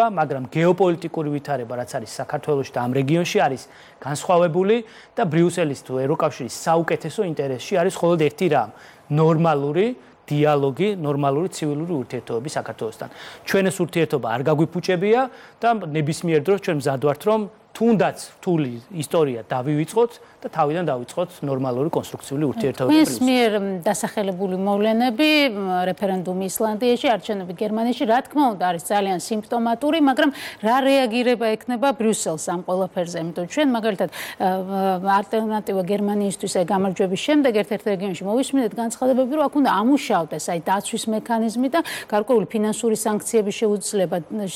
მაგრამ გეოპოლიტიკური ვითარება, რაც არის საქართველოში და ამ რეგიონში არის განსხვავებული და ბრიუსელის თუ ევროკავშირის საუკეთესო ინტერესში არის მხოლოდ ერთი რამ: ნორმალური დიალოგი, ნორმალური ცივილური ურთიერთობები საქართველოსთან. ჩვენ ეს ურთიერთობა არ გაგვიფუჭებია და ნებისმიერ დროს ჩვენ მზად ვართ, რომ თუნდაც რთული ისტორია დავივიწყოთ და თავიდან დავიწყოთ ნორმალური კონსტრუქციული ურთიერთობები. ეს მიერ დასახელებული მოვლენები, რეფერენდუმი ისლანდიაში, არჩევნები გერმანიაში, რა თქმა უნდა, არის ძალიან სიმპტომატური, მაგრამ რა რეაგირება ექნება ბრიუსელს ამ ყველაფერზე? იმიტომ ჩვენ მაგალითად ალტერნატივა გერმანიისთვის გამარჯვების შემდეგ ერთ-ერთ რეგიონში მოვისმინეთ განცხადებები, რომ აქ უნდა ამუშავდეს დაცვის მექანიზმი და გარკვეული ფინანსური სანქციები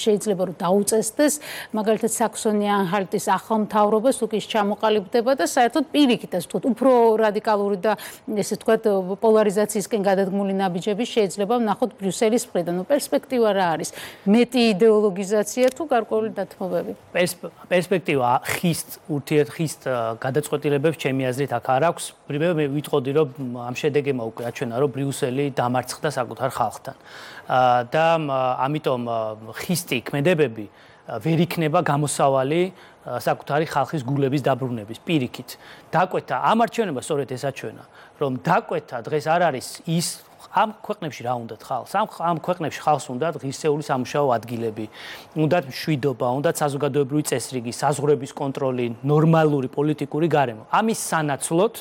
შეიძლება რომ დაუწესდეს, მაგალითად საქსონი-ანჰალტის ახალ მთავრობას თუ კი ჩამოყალიბდება და საერთოდ პირიქით ასე ვთქვათ, უფრო რადიკალური და ესე ვთქვათ, პოლარიზაციისკენ გადადგმული ნაბიჯები შეიძლება ვნახოთ ბრიუსელის მხრიდან. პერსპექტივა რა არის? მეტი იდეოლოგიზაცია თუ გარკვეული დათმობები? პერსპექტივა ხის გადაწყვეტილებებს ჩემი აზრით აქ არ აქვს. მე ვიტყოდი, რომ ამ შედეგმა უკვე აჩვენა, რომ ბრიუსელი დამარცხდა საკუთარ ხალხთან. და ამიტომ ხისტი ქმედებები ვერ იქნება გამოსავალი საკუთარი ხალხის გულების დაბრუნების პირიქით. დაკვეთა ამ არჩევნებმა სწორედ ეს აჩვენა, რომ დაკვეთა დღეს არ არის ის ამ ქვეყნებში რა უნდათ ხალხს? ამ ქვეყნებში ხალხს უნდათ ღირსეული სამუშაო ადგილები, უნდათ მშვიდობა, უნდათ საზოგადოებრივი წესრიგი, საზღვრების კონტროლი, ნორმალური პოლიტიკური გარემო. ამის სანაცვლოდ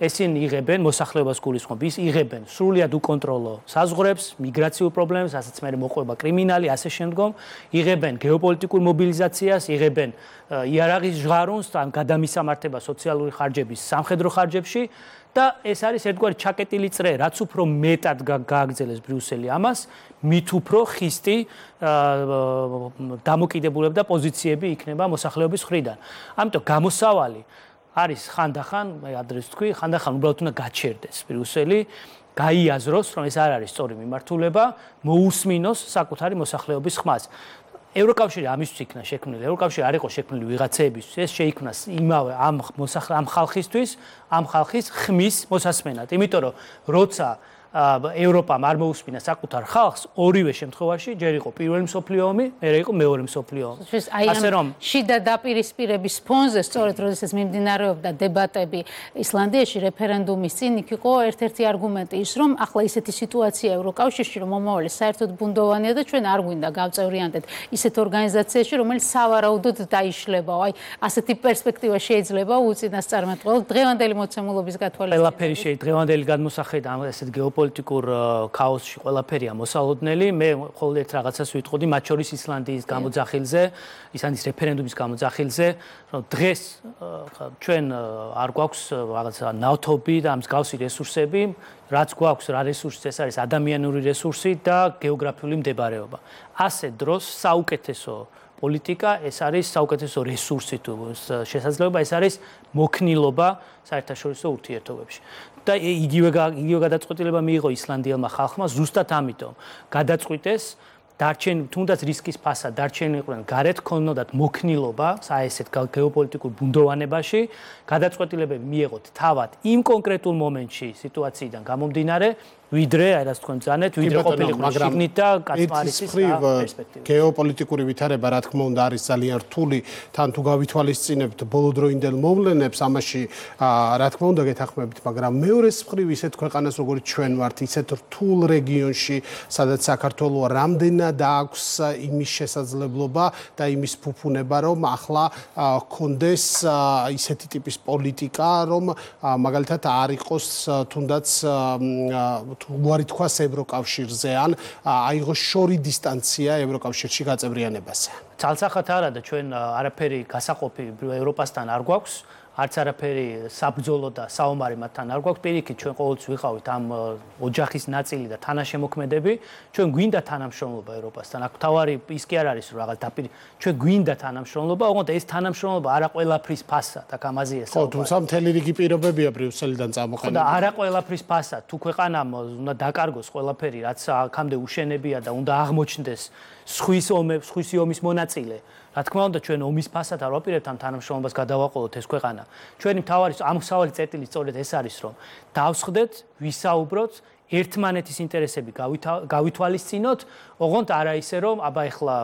ესენი იღებენ მოსახლეობას გულისხმობ, იღებენ სრულიად უკონტროლო საზღვრებს, მიგრაციულ პრობლემებს, ასაც მე მოყვება კრიმინალი, ასე შემდგომ, იღებენ გეოპოლიტიკურ მობილიზაციას, იღებენ იარაღის ჟღარონს, ან გადამისამართება სოციალური ხარჯების სამხედრო ხარჯებში და ეს არის ერთგვარი ჩაკეტილი წრე, რაც უფრო მეტად გააგრძელებს ბრიუსელი ამას, მით უფრო ხისტი დამოკიდებულება და პოზიციები იქნება მოსახლეობის მხრიდან. ამიტომ გამოსავალი არის ხანდახან, მე ადრეს თქვი, ხანდახან უბრალოდ უნდა გაჩერდეს ბრიუსელი, გაიაზროს, რომ ეს არ არის სწორი მიმართულება, მოусმინოს საკუთარი მოსახლეობის ხმას. ევროკავშირი ამისთვის იქნა შექმნილი. ევროკავშირი არ იყო შექმნილი ვიღაცეებისთვის, ეს შეიქმნა იმავე ამ ხალხისთვის, ამ ხალხის ხმის მოსასმენად. იმიტომ რომ როცა ევროპამ არ მოусმინა საკუთარ ხალხს, ორივე შემთხვევაში ჯერ იყო პირველი მსოფლიო ომი, მერე იყო მეორე მსოფლიო ომი. ასე რომ შიდა დაპირისპირების ფონზე სწორედ როდესაც მიმდინარეობდა დებატები ისლანდიაში რეფერენდუმის წინ, იქ იყო ერთ-ერთი არგუმენტი ის, რომ ახლა ისეთი სიტუაცია ევროკავშირში, რომ მომავალი საერთოდ ბუნდოვანია და ჩვენ არ გვინდა გავწევრიანდეთ ისეთ ორგანიზაციაში, რომელიც სავარაუდოდ დაიშლებაო. აი, ასეთი პერსპექტივა შეიძლება უწინასწარმეტყველო დღევანდელი მოცემულობის გათვალისწინებით. ყველაფერი დღევანდელი გადმოსახედა ამ ესეთ პოლიტიკურ ქაოსში ყველაფერია მოსალოდნელი. მე მხოლოდ ერთ რაღაცას ვიტყოდი, მათ შორის ისლანდიის გამოძახილზე, ისლანდიის რეფერენდუმის გამოძახილზე, რომ დღეს ჩვენ არ გვაქვს რაღაცა ნავთობი და მსგავსი რესურსები, რაც გვაქვს რა რესურსი, ეს არის ადამიანური რესურსი და გეოგრაფიული მდებარეობა. ასე დროს საუკეთესო პოლიტიკა, ეს არის საუკეთესო რესურსი თუ შესაძლებლობა, ეს არის მოქნილობა საერთაშორისო ურთიერთობებში. და იგივე გადაწყვეტილება მიიღო ისლანდიელმა ხალხმა ზუსტად ამიტომ. გადაწყვიტეს დარჩენ თუნდაც რისკის ფასად დარჩენილიყვნენ გარეთ ქონოდათ მოქნილობა საერთოდ გეოპოლიტიკურ ბუნდოვანებაში, გადაწყვეტილებები მიიღოთ თავად იმ კონკრეტულ მომენტში სიტუაციიდან გამომდინარე, ვიდრე რაც თქვენ ძანეთ, ვიდრე ყოფილიყო შიგნით და კაცმარისის პერსპექტივა. გეოპოლიტიკური ვითარება რა თქმა უნდა არის ძალიან რთული, თან თუ გავითვალისწინებთ ბოლოდროინდელ მოვლენებს, ამაში რა თქმა უნდა გეთანხმებით, მაგრამ მეორეს მხრივ ისეთ ქვეყანას როგორც ჩვენ ვართ, ისეთ რთულ რეგიონში, სადაც საქართველოს რამდენად აქვს იმის შესაძლებლობა და იმის ფუფუნება, რომ ახლა კონდეს ისეთი ტიპის პოლიტიკა, რომ მაგალითად არ იყოს თუნდაც უარი თქვას ევროკავშირზე ან აიღოს შორი დისტანცია ევროკავშირში გაწევრიანებაზე. ცალსახად არა და ჩვენ არაფერი გასაყოფი ევროპასთან არ გვაქვს, არც არაფერი საბრძოლო და საომარი მათთან არ გვაქვს. პირიქით ჩვენ ყოველთვის ვიყავით ამ ოჯახის ნაწილი და თანაშემოქმედები. ჩვენ გვინდა თანამშრომლობა ევროპასთან. აქ თავარი ის კი არ არის რომ რაღაც ჩვენ გვინდა თანამშრომლობა, ოღონდ ეს თანამშრომლობა არა ყველაფრის ფასად, აქ ამაზეა საუბარი. ხო, თუმცა მთელი რიგი პირობებია ბრიუსელიდან წამოყენებული. და არა ყველაფრის ფასად, თუ ქვეყანამ უნდა დაკარგოს ყველაფერი, რაც აქამდე უშენებია და უნდა აღმოჩნდეს სხვისი ომის მონაწილე. რა თქმა უნდა ჩვენ ომის ფასად არ ვაპირებთ ამ თანამშრომლობას გადავაყოლოთ ეს ქვეყანა. ჩვენი მთავარი ამსავალი წერტილი სწორედ ეს არის რომ დავსხდეთ, ვისაუბროთ ერთმანეთის ინტერესები გავითვალისწინოთ, ოღონდ არა ისე რომ აბა ეხლა